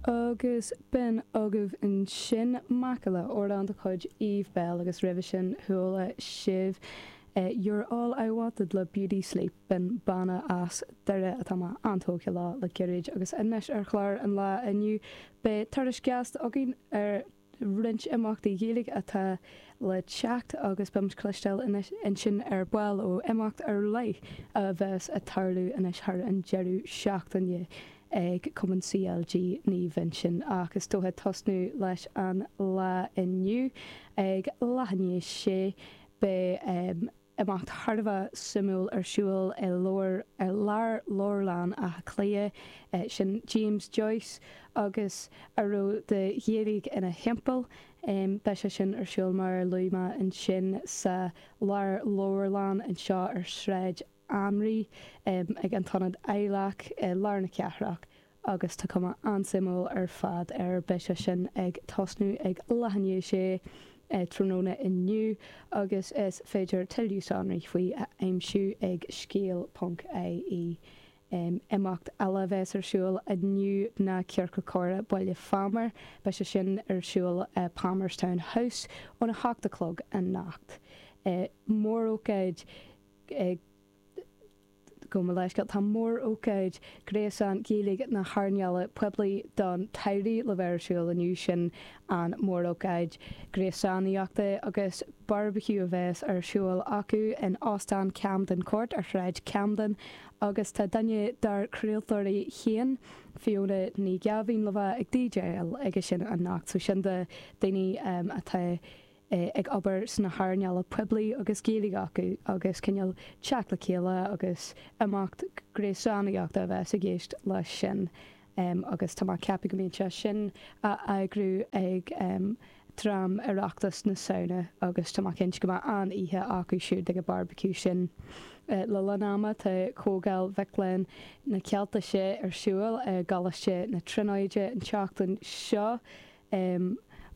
Agus b'in agaibh ansin macalla amhrán de chuid Eve Belle agus roimhe sin chuala sibh You're All I Wanted le Beauty Sleep, b'in banna as Doire atá mé an-tógtha leo le gairid agus anois ar chlár an lae inniu beidh turas gasta againn ar roinnt imeachtaí Gaeilge atá le teacht agus beidh muid cloisteáil ansin ar ball ó imeacht ar leith a bheas ag tarlú anois thar an deireadh seachtaine ag Cumann CLG Naomh Uinseann. Ach is dócha tosnú leis an lá inniu ag leath i ndiaidh a sé beidh Imeacht thar a bheith suimiúil ar siúl i Lárleabharlann Átha Cliath, sin James Joyce agus a raibh de Ghaeilge ina thimpeall. Beidh sé sin ar siúl mar a luaigh mé ansin sa Lárleabharlann anseo ar Shráid Anraí ag an tIonad Adhlactha i lár na cathrach. agus tá cuma an-suimiúil ar fad air. Beidh sé sin ag tosnú ag leath i ndiaidh a sé tráthnóna inniu agus is féidir tuilleadh sonraí faoi a aimsiú ag scéal ponc ie. Imeacht eile a bheas ar siúl inniu ná Ciorcal Comhrá Baile Phámar. Beidh sé sin ar siúl i Palmerstown House óna hocht a chlog anocht. Mórócáid Gabh mo leithscéal, tá mór-ócáid gréasán Gaeilge na hearnála poiblí don tsamhradh le bheith ar siúl inniu. Sin an mór-ócáid gréasánaíochta agus barbecue a bheas ar siúl acu in Óstán Camden Court ar Shráid Camden agus tá duine dár craoltóirí féin, Fiona Ní Ghearbhuigh le bheith ag DJáil aige sin anocht. So sin do daoine atá ag obair sna hearnála poiblí agus Gaeilge acu agus cineál teacht le chéile agus imeacht gréasánaíochta a bheas i gceist leis sin agus tá mé ag ceapadh go mbíonn sé sin á eagrú ag dream Oireachtas na Samhna agus tá mé cinnte go mbeidh an-oíche acu siúd ag an barbecue sin. Le linn ama tá Comhdháil Mhic Léinn na Ceiltise ar siúl i gColáiste na Tríonóide an tseachtain seo.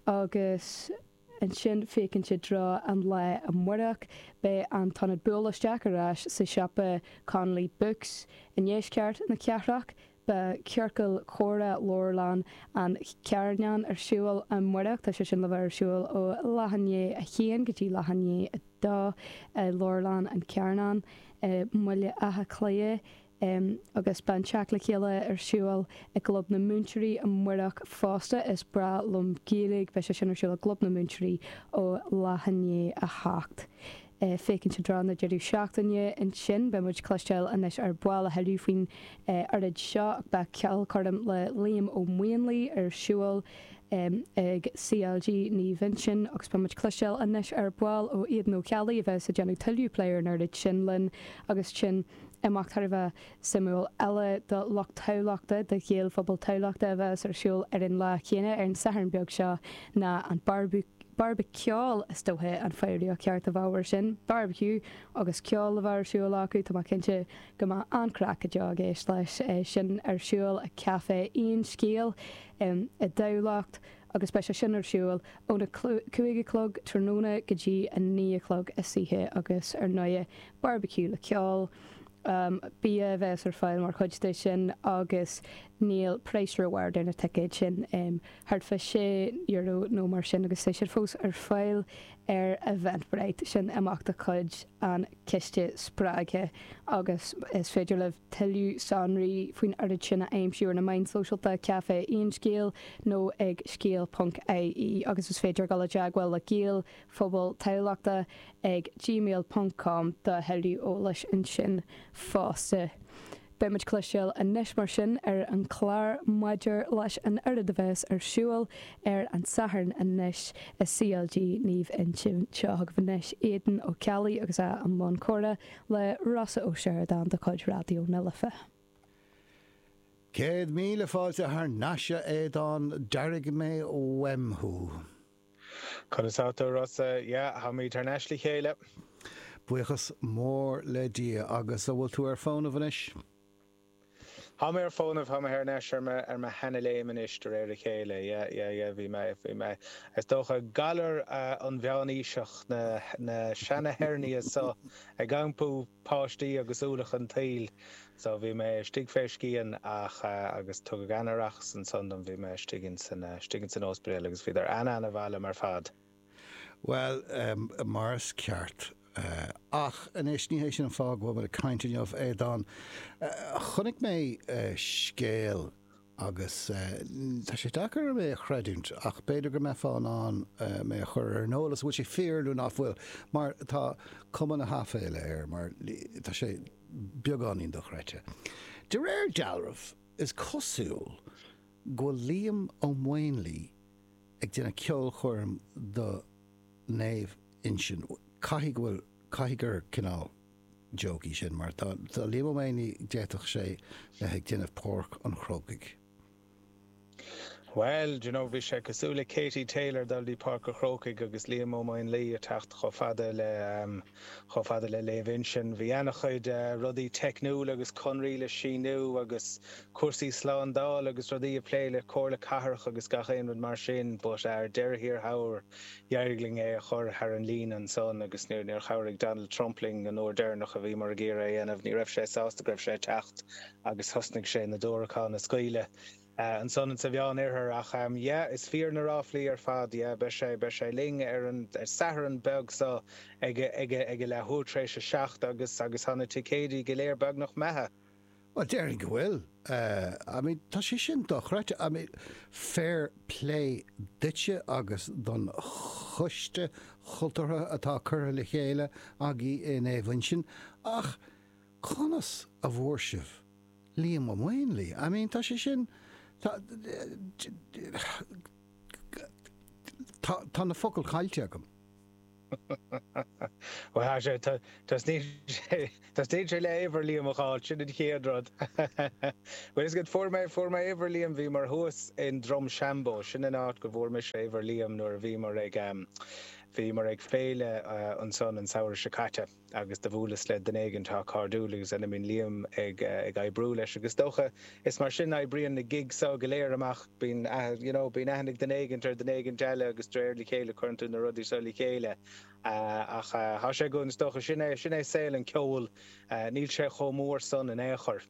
Agus ansin féachaint i dtreo an lae amárach, beidh an t-ionad Buail Isteach ar ais sa siopa Connolly Books i ndeisceart na cathrach. Beidh Ciorcal Comhrá Leabharlann an Charnáin ar siúl amárach. Tá sé sin le bheith ar siúl ó leath i ndiaidh a haon go dtí leath i ndiaidh a dó i Leabharlann an Charnáin i mBaile Átha Cliath. Agus beidh an teacht le chéile ar siúl i gClub na Múinteoirí amárach fosta. Is breá liom Gaeilge. Beidh sé sin ar siúl i gClub na Múinteoirí ó leath i ndiaidh a hocht. Féachaint i dtreo na deireadh seachtaine ansin. Beidh muid cloisteáil anois ar ball a thuilleadh faoin oiread seo ach beidh ceolchoirm le Liam Ó Maonlaí ar siúl ag CLG Naomh Uinseann agus beidh muid cloisteáil anois ar ball ó Aodán Ó Ceallaigh a bheas ag déanamh tuilleadh plé ar an oiread sin linn agus sin Imeacht thar a bheith suimiúil eile do lucht Thamhlachta, do Ghaelphobal Thamhlachta a bheas ar siúl ar an lá chéanna, ar an Satharn beag seo, ná an Bearbaceol, is dócha an foghraíocht cheart a bheadh air sin. Barbecue agus ceol a bheith ar siúl acu, tá mé cinnte go mbeidh an-chraic go deo i gceist leis sin ar siúl i Café Aon Scéal i dTamhlacht agus beidh sé sin ar siúl óna 5 a chlog tráthnóna go dtí 9 a chlog istoíche agus ar ndóighe barbecue le ceol, bia a bheas ar fáil mar chuid de sin agus níl praghas ró-ard ar na ticéid sin, thart fá €6 nó mar sin agus tá siad fós ar fáil ar Eventbrite, sin imeacht de chuid an Chiste Spreagtha agus is féidir libh tuilleadh sonraí faoin oiread sin a aimsiú ar na meáin sóisialta, Café Aon Scéal nó ag scéal.ie agus is féidir dul i dteagmháil le Gael Phobal Thamhlachta ag gmail ponc com do thuilleadh eolais ansin fosta. Beidh muid cloisteáil anois mar sin ar an chlár maidir leis an oiread a bheas ar siúl ar an Satharn anois i CLG Naomh Uinseann. Seo chugaibh anois Aodán Ó Ceallaigh agus é i mbun comhrá le Rossa Ó Seireadáin de chuid Raidió na Life. 100,000 fáilte thar n-ais a Aodáin, d'airigh mé uaim thú. Conas tá tú, a Rossa? Yeah, táimid thar n-ais le chéile. Buíochas mór le Dia. Agus an bhfuil tú ar fónamh anois? Tá mé ar fónamh, tá mé thar n-ais ar mo, ar mo sheana-léim anois de réir a chéile, yeah, yeah, yeah, bhí mé, bhí mé, is dócha, galar an mheánaoiseach, na, na seana-hernia so ag iompú páistí agus ualach an tsaoil, so bhí mé istigh fé scian ach, agus tugadh an-aireachas ansan dom, bhí mé istigh insan, istigh insan ospidéal agus bhíodar an-an-mhaith liom ar fad. Bhuel, mar is ceart. Ach anois, ní hé sin an fáth go bhfuil muid ag caint inniu, a Aodáin. Chonaic mé scéal agus tá sé deacair orm é a chreidiúint ach b'fhéidir go mbeifeá in ann mé a chur ar an eolas an bhfuil sé fíor nó nach bhfuil, mar tá cuma na haiféala air, mar tá sé beagáinín dochreidte. De réir dealraimh, is cosúil go bhfuil Liam Ó Maonlaí ag déanamh ceolchoirm do Naomh Uinseann. Caithfidh go bhfuil, caithfidh gur cineál joke í sin mar tá, tá Liam Ó Maonlaí, d'fhéadfadh sé bheith ag déanamh Páirc an Chrócaigh. Bhuel, do you know, bhí sé cosúil le Katie Taylor dul dtí Páirc an Chrócaigh agus Liam Ó Maonlaí ag teacht chomh fada le, chomh fada le Naomh Uinseann. Bhí ana-chuid rudaí teicniúil agus conraí le síniú agus cúrsaí slándála agus rudaí a plé le Comhairle Cathrach agus gach aon rud mar sin but ar deireadh thiar thall d'éirigh linn é a chur thar an líne ansan agus níor níor chabhraigh Donald Trump linn an uair deireanach a bhíomar ag iarraidh é a dhéanamh. Ní raibh sé sásta go raibh sé ag teacht agus thosnaigh sé na diúracáin a scaoileadh ansan insa Mheán Oirthear ach yeah is fíor na ráflaí ar fad yeah beidh sé beidh sé linn ar an Satharn beag seo ag ag ag a leathuair tar éis a 7 agus agus tá na ticéidí go léir beagnach imithe. Bhuel, déarfainn go bhfuil. I mean, tá sé sin dochreidte. I mean, fair play duitse agus don choiste chultúrtha atá curtha le chéile agaibh i Naomh Uinseann, ach conas a bhfuair sibh Liam Ó Maonlaí? I mean, tá sé sin, tá, tá, tá na focail caillte agam. Bhuel, tá sé, teastaíonn sé, teastaíonn sé le uimhir Liam a fháil, sin an chéad rud. Bhuel, is good, fuair mé, fuair mé uimhir Liam, bhíomar thuas in Drumshanbo, sin an áit go bhfuair mise uimhir Liam nuair a bhíomar ag, bhíomar ag féile ansan an samhradh seo caite. agus do bhuaileas le duine éigin atá cairdiúil agus ina mbíonn Liam ag ag oibriú leis agus is dócha is mar sin a oibríonn na gigs seo go léir amach, bíonn you know bíonn aithne ag duine éigint ar duine éigint eile agus de réir le chéile cuireann tú na rudaí seo le chéile ach tá sé go is dócha sin é sin é saol an ceoil níl sé chomh mór san in aon chor.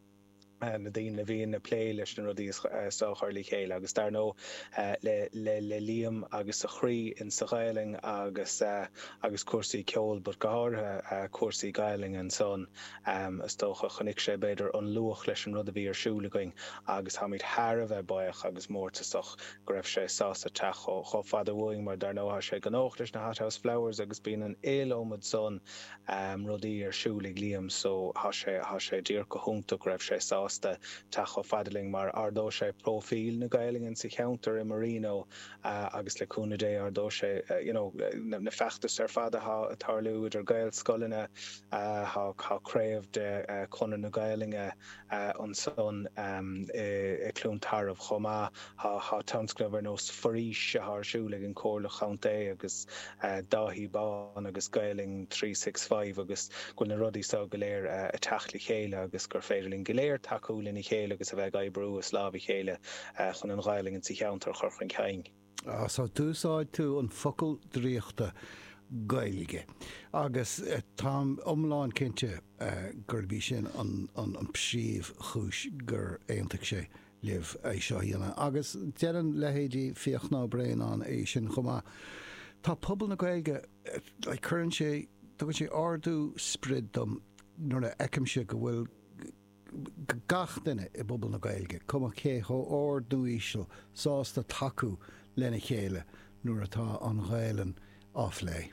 na daoine a bhíonn ag plé leis na rudaí seo a chur le chéile agus dar ndóigh le le Liam agus a chroí in sa Ghaelainn agus agus cúrsaí ceoil but go háirithe cúrsaí Gaelainne ansan is dócha chonaic sé b'fhéidir an luach leis an rud a bhí ar siúl againn agus táimid thar a bheith buíoch agus mórtasach go raibh sé sásta teacht chomh fada uainn mar dar ndóigh tá sé gnóthach leis na Hothouse Flowers agus bíonn an iliomad san rudaí ar siúl ag Liam so thá sé, thá sé díreach go hiontach go raibh sé sásta teacht chomh fada linn mar ardóidh sé próifíl na Gaelainne sa cheantar i Marino agus le cúnamh Dé ardóidh sé you know na feachtais ar fad athá ag tarlú idir Gaelscoileanna, thá, thá craobh de Chonradh na Gaelainne ansan i Cluain Tarbh chomh maith. Tá tionscnaimh ar nós Foraois atá ar siúl ag an Chomhairle Chontae agus Dáithí Bán agus Gaelainn 365 agus go bhfuil na rudaí seo go léir ag teacht le chéile agus gur féidir linn go léir tacú lena chéile agus a bheith ag oibriú as lámh a chéile chun an Ghaelainn sa cheantar a chur chun cinn. So d'úsáid tú an focal draíochta Gaeilge agus táim iomlán cinnte gurb í sin an príomhchúis gur aontaigh sé libh é seo a dhéanamh. Agus déanann leithéidí Fiachna Ó Braonáin é sin chomh maith. Tá pobal na Gaeilge, like, cuireann sé, tugann sé ardú sprid dom nuair a fheicimse go bhfuil gach duine i bpobal na Gaeilge, cuma cé chomh ard nó íseal, sásta tacú lena chéile nuair atá an Ghaelainn á phlé.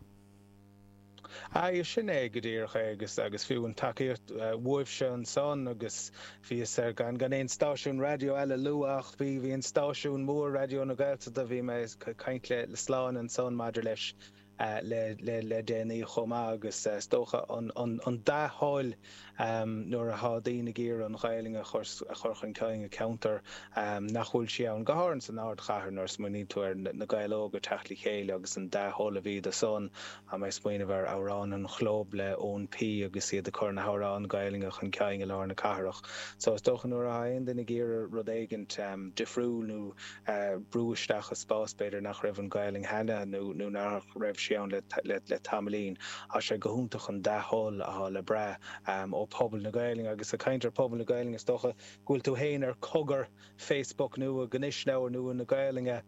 Aye, sin é go díreach é agus agus fiú an tacaíocht uaibhse ansan agus bhíos ar gan gan aon stáisiún raidió eile a lua ach bhí bhí an stáisiún mór Raidió na Gaeltachta bhí mé ag caint le le Sláine ansan maidir leis. Le déanaí chomh maith agus is dócha an dea-thoil nuair athá daoine ag iarraidh an Ghaelainn a chur chun cinn i ceantar nach bhfuil sí ann, go háirithe san ardchathair nuair a smaoiníonn tú ar na Gaeil Óga ag teacht le chéile agus an dea-thoil a bhí do san. Tá mé ag smaoineamh ar Amhrán an Chlub le Eoin P agus iad ag cur na hamhráin Gaelainne chun cinn i lár na cathrach. So is dócha nuair athá aon duine ag iarraidh rud éigint difriúil nó brú isteach i spás b'fhéidir nach raibh an Ghaelainn cheana nó nó nach raibh sí ann le le tamaillín. Tá sé go hiontach an dea-thoil athá le brath ó phobal na Gaelainne agus ag caint ar phobal na Gaelainne is dócha go bhfuil tú féin ar Cogar Facebook nua gnisleabhar nua na Gaelainne.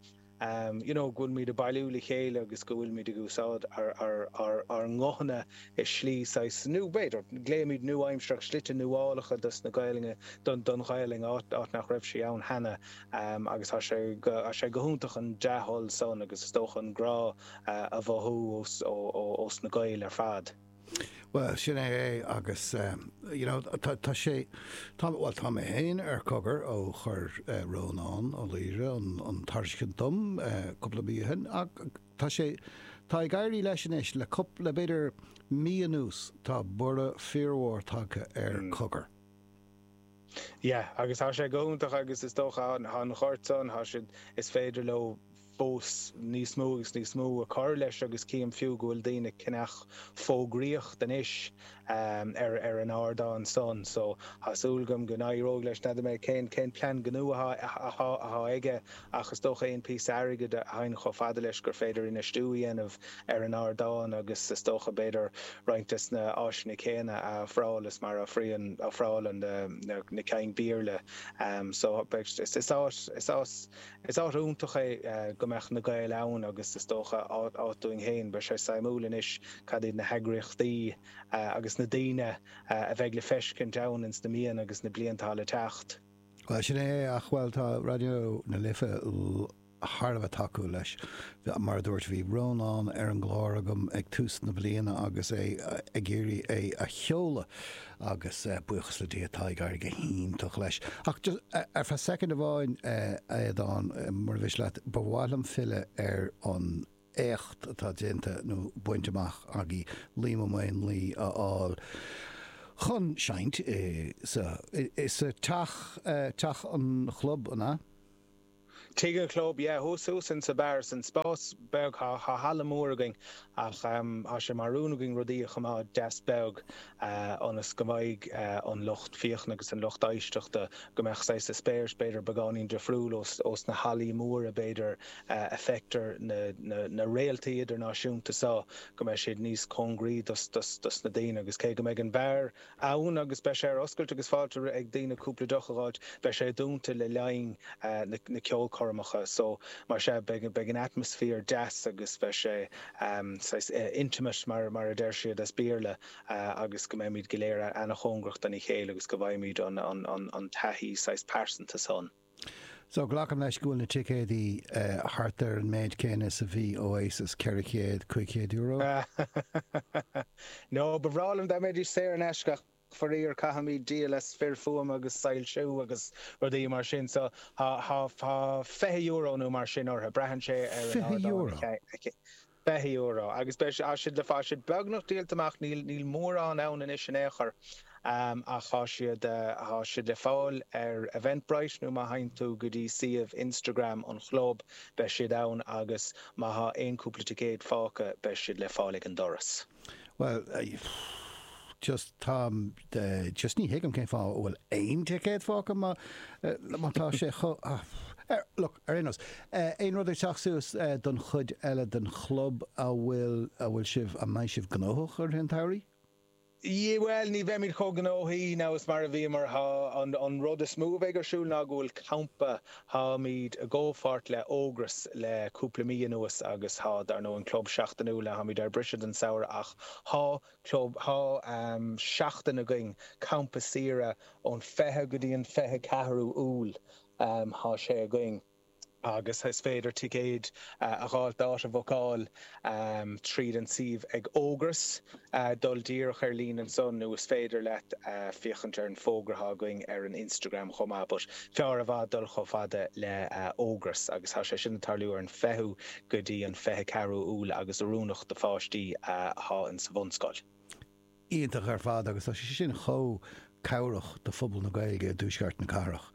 you know go bhfuilimid ag bailiú le chéile agus go bhfuilimid ag úsáid ár nguthanna i slí saghas nó b'fhéidir glaoimid nua-aimsearach slite nuálacha dos na Gaelainne don don Ghaelainn áit áit nach raibh sí ann cheana agus tá sé tá sé go hiontach an dea-thoil san agus is dócha an grá a mhothú ós ó ós na Gaeil ar fad. Bhuel, sin é é agus you know tá tá sé tá bhuel tá mé féin ar Cogar ó chuir Rónán Ó Laoire an an tairiscint dom cúpla mí ó shin ach tá sé tá ag éirí leis anois le cúpla le b'fhéidir mí anuas tá borradh fíormhór tagtha ar Cogar. Yeah, agus tá sé go hiontach agus is dócha tá an ghort san, tá siad, is féidir leo fós níos mó agus níos mó a chur leis agus cím fiú go bhfuil daoine ag ceannach fógraíocht anois ar ar an ardán san so tá súil agam go n-éireoidh leis. N'fheadar mé cén cén plean gnó atá atá atá aige ach is dócha aon píosa airgid a thagann chomh fada leis gur féidir infheistiú a dhéanamh ar an ardán agus is dócha b'fhéidir roinnt des na áiseanna céanna a ofráil is mar a ofrálann na cinn Béarla so is is áit is áit is áit iontach é go mbeadh na Gaeil ann agus is dócha áit dúinn féin. Beidh sé suimiúil anois cad iad na heagraíochtaí agus na daoine a bheidh le feiscint ann ins na míonna agus na blianta atá le teacht. Bhuel, sin é é, ach, bhuel, tá Raidió na Life thar a bheith tacúil leis. Mar a dúirt, bhí Rónán ar an gclár agam ag tús na bliana agus é ag iarraidh é a sheoladh agus buíochas le Dia tá ag éirí go hiontach leis. Ach just ar feadh soicind amháin, a Aodáin, mura mhiste leat, ba mhaith liom filleadh ar an éacht atá déanta nó bainte amach agaibh Liam Ó Maonlaí a fháil chun seinnt i sa sa teach, teach an chlub, an ea? Tigh an Chlub, yeah, thuas thuas in sa beár, san spás beag, thá halla mór againn ach thá sé mar rún againn rudaí a choimeád deas beag ionas go mbeidh an lucht féachana agus an lucht éisteachta, go mbeadh saghas eispéireas b'fhéidir beagáinín difriúil ós na hallaí móra b'fhéidir a feictear na réaltaí idirnáisiúnta so, go mbeidh siad níos cóngaraí dos na daoine agus cé go mbeidh an beár ann agus beidh sé ar oscailt agus fáilte ag daoine cúpla deoch a dh'fháilt. Beidh sé dúnta le linn na ceolchoirmeacha so mar sea beidh beidh an atmaisféar deas agus beidh sé saghas intimate mar mar a deir siad as Béarla agus go mbeimid go léir ana-chóngarach dona chéile agus go bhfaighimid an an an an taithí saghas pearsanta san. So, glacaim leis go bhfuil na ticéadaí thart ar an méid céanna is a bhí Oasis, €400, €500? No, ba bhreá liom dá mbeidís saor in aisce ach faraor caithfimid díol as fir fuaime agus soilsiú agus rudaí mar sin so tá €20 nó mar sin orthu, braitheann sé ar an ardán a €20 agus beidh tá siad le tá siad beagnach díolta amach, níl níl mórán ann anois in aon chor ach tá siad tá siad le fáil ar Eventbrite nó má théann tú go dtí suíomh Instagram an chlub beidh siad ann agus má thá aon cúpla ticéad fágtha beidh siad le fáil ag an doras. Bhuel, just táim, just ní thuigim cén fáth a bhfuil aon ticéad fágtha má, má tá sé chomh, look, ar aon nós, aon rud ag teacht suas don chuid eile den chlub a bhfuil, a bhfuil sibh, a mbeidh sibh gnóthach i rith an tsamhraidh? Bhuel, ní bheimid chomh gnóthaí now is mar a bhíomar. Tá an rud is mó a bheidh ar siúl ná go bhfuil campa, táimid i gcomhpháirt le Ógras le cúpla mí anuas agus tá, dar ndóigh, an club seachtainiúil, now táimid ar briseadh don samhradh ach tá club, tá seachtain againn, campa saoire ón 20 go dtí an 24ú Iúil, tá sé againn. Agus is féidir ticéid a dh'fháilt, áit a bhookáil tríd an suíomh ag Ógras, dul díreach ar líne ansan nó is féidir leat féachaint ar an fógra atá againn ar an Instagram chomh maith. But fearr i bhfad dul chomh fada le Ógras agus tá sé sin ag tarlú ar an 20ú go dtí an 24ú Iúil agus oiriúnach do pháistí atá in sa bhunscoil. Iontach ar fad agus tá sé sin chomh cabhrach do phobal na Gaeilge i dtuaisceart na cathrach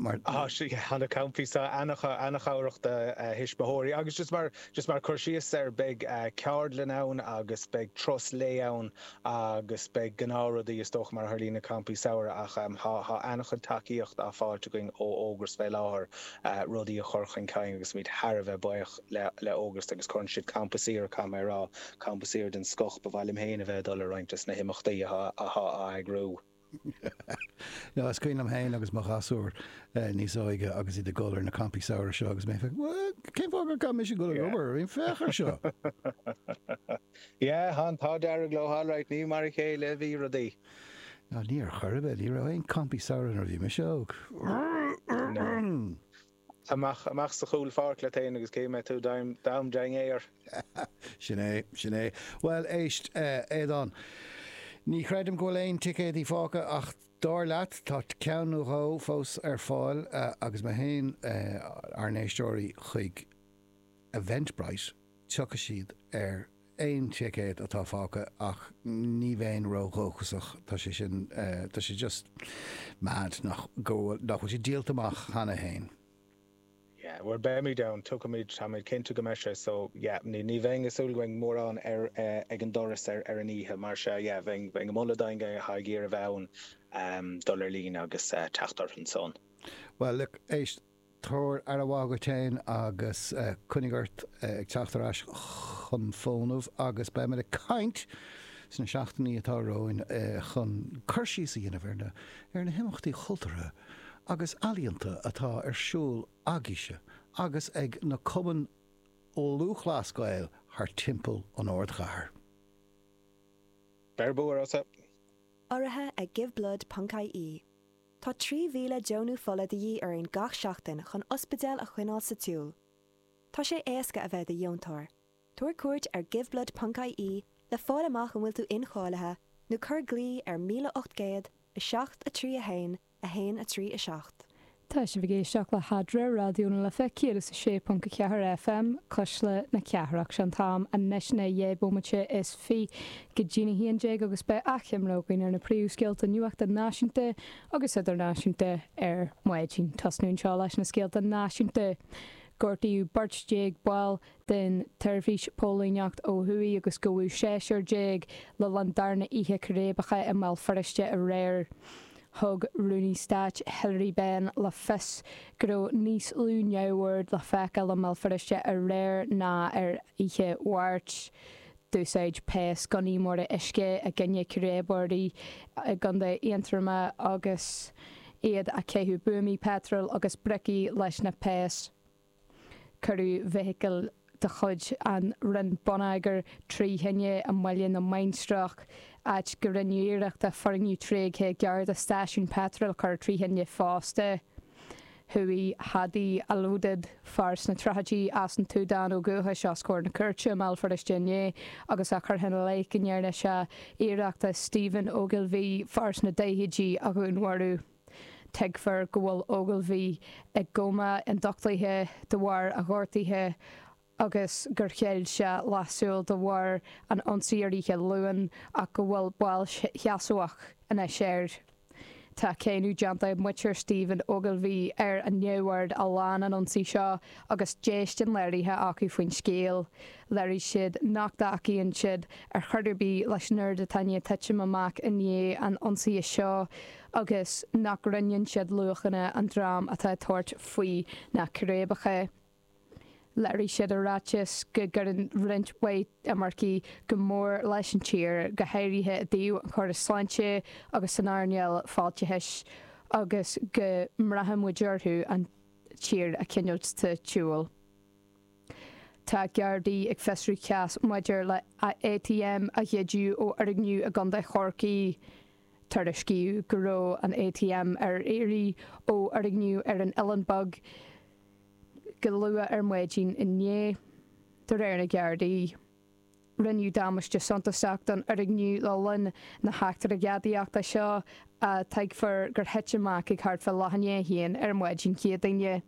mar. Tá sé, tá na campaí seo an-chabhrach do thuismitheoirí agus just mar, just mar cur síos air beidh ceardlann ann agus beidh turas lae ann agus beidh gnáthrudaí is dócha mar a tharlaíonn na campaí samhraidh ach tá, tá an-chuid tacaíocht á fáilt againn ó Ógras fé láthair rudaí a chur chun cinn agus muid thar a bheith buíoch. le Ógras agus cuireann siad campa saoire, caithfidh mé a rá, campa saoire den scoth, ba mhaith liom féin a bheith ag dul ar roinnt des na himeachtaí atá á eagrú. No, is cuimhin liom féin agus mo ghasúir níos óige agus iad ag dul ar na campaí samhraidh seo agus mé ag féachaint, cén fáth gur caithfidh mise dul ag obair? I mean, féach ar seo! Yeah, tá an t-ádh dearg leo, alright, ní mar a chéile a bhí rudaí. No, ní ar chor ar bith, ní raibh aon campaí samhraidh nuair a bhí mise óg. No. Amach, amach sa chúl pháirc leat fhéin agus cé mbeidh tú d'am dainséar. Sin é, sin é. Bhuel, éist, Aodán, ní chreidim go bhfuil aon ticéadaí fágtha ach dar leat, tá ceann nó dhó fós ar fáil agus má théann ár n-éisteoirí chuig Eventbrite, tiocfaidh siad ar aon ticéad atá fágtha ach ní bheinn ródhóchasach, tá sé sin, tá sé just mad nach, go bhfuil, nach bhfuil sé díolta amach cheana féin. Yeah, bhuel beimid ann, tiocfaimid, táimid cinnte go mbeidh sé so yeah, ní, ní bheinn ag súil go mbeidh mórán ar, ag an doras ar, ar an oíche mar sea yeah, bheinn, bheinn ag moladh d'éinne atá ag iarraidh a bheith ann, dul ar líne agus teacht orthu ansan. Well look, éist, Tabhair aire mhaith dhuit féin agus coinnigh ort ag teacht ar ais chun fónamh agus beimid ag caint sna seachtainí atá romhainn chun cur síos a dhéanamh ar na ar na himeachtaí chultúrtha agus ealaíonta atá ar siúl agaibhse agus ag na cumainn Lúthchleas Gael thar timpeall an ardchathair. Beir bua ortsa! Urraithe ag Giveblood ponc ie. Tá 3,000 deonú fola de dhíth orainn gach seachtain chun ospidéil a choinneáil sa tsiúl. Tá sé éasca a bheith i do dheontóir. Tabhair cuairt ar giveblood ponc ie le fáil amach an bhfuil tú incháilithe nó cuir glao ar 1800 7 3 1 1 3 7. Tá sibh ag éisteacht le hEadra, Raidió na Life 106.4 FM, Cuisle na Cathrach. Sé an t-am anois ná 12 bomaite is 20 go dtí'n 11 agus beidh achoimre againn ar na príomhscéalta nuachta náisiúnta agus idirnáisiúnta ar maidin. Tosnú anseo leis na scéalta náisiúnta. Gortaíodh beirt déag ball den tseirbhís póilíneacht ó thuaidh agus gabhadh seisear déag le linn darna oíche círéibeacha i mBéal Feirste aréir. Thug Rúnaí Stáit Hilary Benn le fios go raibh níos lú neamhoird le feiceáil i mBéal Feirste aréir ná ar oíche Mháirt. D'úsáid péas gunnaí móra uisce i gcoinne círéibeoirí i gContae Aontroma agus iad ag caitheamh buamaí peitril agus bricí leis na péas. Cuireadh feithicil de chuid an Roinn Bonneagair trí thine i mBaile na Mainistreach, áit go rinneadh iarracht foirgneamh tréigthe gar do stáisiún peitril a chur trí thine fosta. Chuaigh Hadi Alodid, fear sna tríochaidí as an tSúdáin ó dhúchais, os comhair na cúirte i mBéal Feirste inné agus é curtha ina leith go ndearna sé iarracht Stephen Ogilvie, fear sna daichidí, a dhúnmharú. Tuigtear go bhfuil Ogilvie i gcóma ionduchtaithe de bharr a ghortaithe agus gur chaill sé leathshúil de bharr an ionsaí ar oíche Luain ach go bhfuil bail sheasmhach anois air. Tá cáineadh déanta ag muintir Stephen Ogilvie ar an neamhaird a lean an ionsaí seo agus déistin léirithe acu faoin scéal. Léirigh siad nach dtacaíonn siad ar chor ar bith leis an ord atá i ndiaidh titim amach i ndiaidh an ionsaithe seo agus nach roinneann siad luachanna an dream atá ag tabhairt faoi na círéibeacha. Léirigh siad i ráiteas go gcuireann roinnt mhaith imircigh go mór leis an tír, go háirithe i dtaobh an chórais sláinte agus san earnáil fáilteachais, agus go mbraitheann muid orthu an tír a choinneáil sa tsiúl. Tá Gardaí ag fiosrú cás maidir le ATM a ghoideadh ó fhoirgneamh i gContae Chorcaí. Tuairiscíodh go raibh an ATM ar iarraidh ó fhoirgneamh ar an Oileán Beag. go luath ar maidin inné, de réir na Gardaí. Rinneadh damáiste suntasach don fhoirgneamh le linn na heachtra gadaíochta seo, a tuigfear gur thit amach ag thart fá leath i ndiaidh a haon ar maidin Chéadaoine.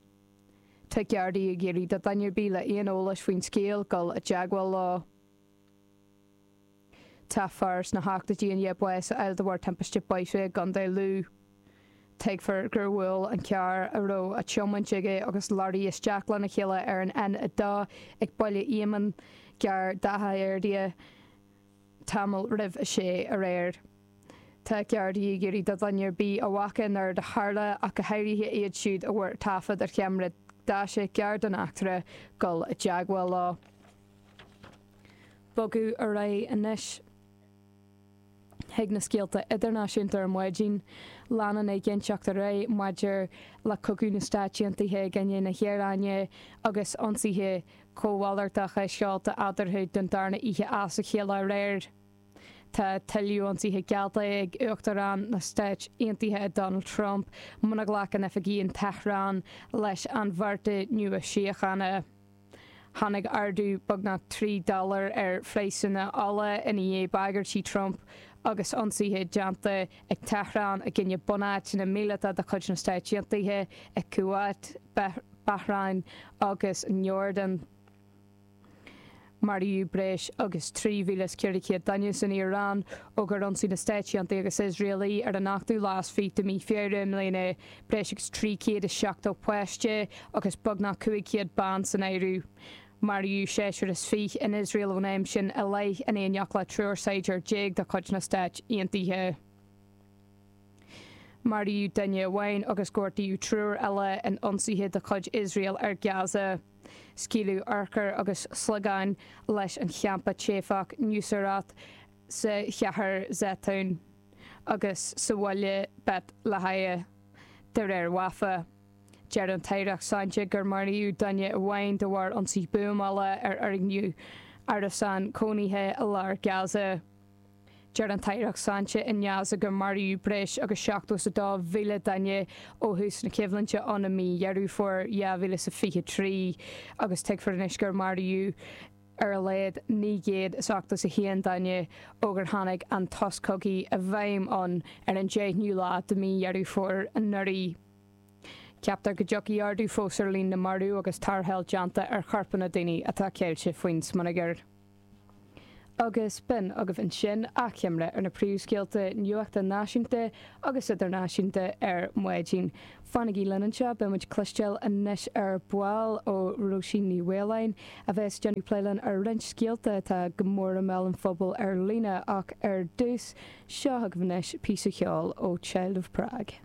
Tá Gardaí ag iarraidh do dhuine ar bith le aon eolais faoin scéal dul i dteagmháil leo. Tá fear sna hochtóidí i ndiaidh bás a fháil de bharr timpiste bóithre i gContae Lú. Tuigfear gur bhuail an carr a raibh á tiomáint aige agus leoraí isteach lena chéile ar an N2 ag Baile Éamainn, gar d'Achadh Fhirdia, tamall roimh a sé aréir. Tá Gardaí ag iarraidh do dhuine ar bith a bhfaca nuair a tharla, ach go háirithe iad siúd a bhfuair taifead ar cheamara daise gar don eachtra, dul i dteagmháil leo. Bogadh ar aghaidh anois chuig na scéalta idirnáisiúnta ar maidin. Leanann éiginnteacht ar aghaidh maidir le cogadh na Stáit Aontaithe i gcoinne na hIaráine agus ionsaithe cómhalartacha seolta eadarthu don darna oíche as a chéile aréir. Tá tuilleadh ionsaithe geallta ag Uachtarán na Stáit Aontaithe Donald Trump muna nglacann oifigigh in Tehran leis an bhearta nua síochána. Tháinig ardú beagnach 3 dollar ar phraghsanna ola i ndiaidh bagairtí Trump agus ionsaithe déanta ag Tehran i gcoinne bunáiteanna míleata de chuid na Stáit Aontaithe i Kuwait, Bahrain agus an Iordáin. Maraíodh breis agus 3,400 duine san Iaráin ó gur ionsaigh na Stáit Aontaithe agus Iosrael í ar an ochtú lá is fiche de mhí Feabhra i mbliana, breis agus 370 páiste agus beagnach 500 bean san áireamh. Maraíodh seisear is fiche in Iosrael ón am sin i leith, in éineacht le triúr saighdiúir déag de chuid na Stáit Aontaithe. Maraíodh duine amháin agus gortaíodh triúr eile in ionsaithe de chuid Iosrael ar Gaza. Scaoileadh urchair agus sliogáin leis an champa teifeach Nuseirat sa chathair Zeitoun agus sa bhaile Beit Lahia, de réir Wafa. Deir an tAireacht Sláinte gur maraíodh duine amháin de bharr ionsaí buamála ar fhoirgneamh árasán cónaithe i lár Gaza. Deir an tAireacht Sláinte i nGaza gur maraíodh breis agus 72,000 duine ó thús na coimhlinte ann i mí Dheireadh Fómhair 2023 agus tuigfear anois gur maraíodh ar a laghad 981 duine ó gur tháinig an sos cogaidh i bhfeidhm ann ar an 10ú lá de mhí Dheireadh Fómhair anuraidh. Ceaptar go dtiocfaidh ardú fós ar líon na marbh agus tarrtháil déanta ar chorpanna daoine atá ceilte faoin smionagar. Agus b'in agaibh ansin achoimre ar na príomhscéalta nuachta náisiúnta agus idirnáisiúnta ar maidin. Fanaigí linn anseo, beidh muid ag cloisteáil anois ar ball ó Róisín Ní Mhaoláin, a bheas ag déanamh plé linn ar roinnt scéalta atá go mór i mbéal an phobail ar líne ach ar dtús, seo chugaibh anois píosa cheoil ó Child of Prague.